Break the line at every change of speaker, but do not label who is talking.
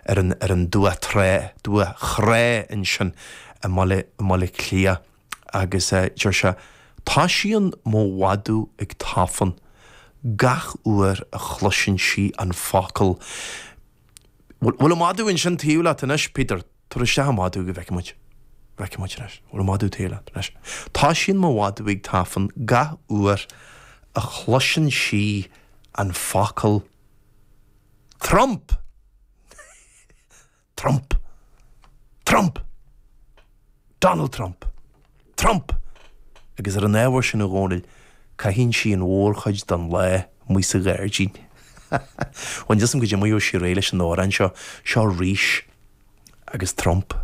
Ar an, ar an Dumhach Trá, Dumhach Thrá ansin i mBaile, i mBaile Átha Cliath agus deir sé, Toisíonn mo mhadadh ag tafann gach uair a chloiseann sí an focal. Bhfuil, bhfuil an madadh ansin taobh leat anois, Peter? Tabhair isteach an madadh go bhfeicfidh muid. Bhfeicfidh muid anois. Bhfuil an madadh taobh leat anois? Toisíonn mo mhadadh ag tafann gach uair a chloiseann sí an focal Trump! Trump! Trump! Donald Trump! Trump! Agus ar an ábhar sin, a Dhónaill, caitheann sí an mhórchuid den lá amuigh sa ghairdín. Bhuel, níl 'fhios a'm goidé mar a gheobhaidh sí réidh leis an amhrán seo. Seo Rís agus Trump.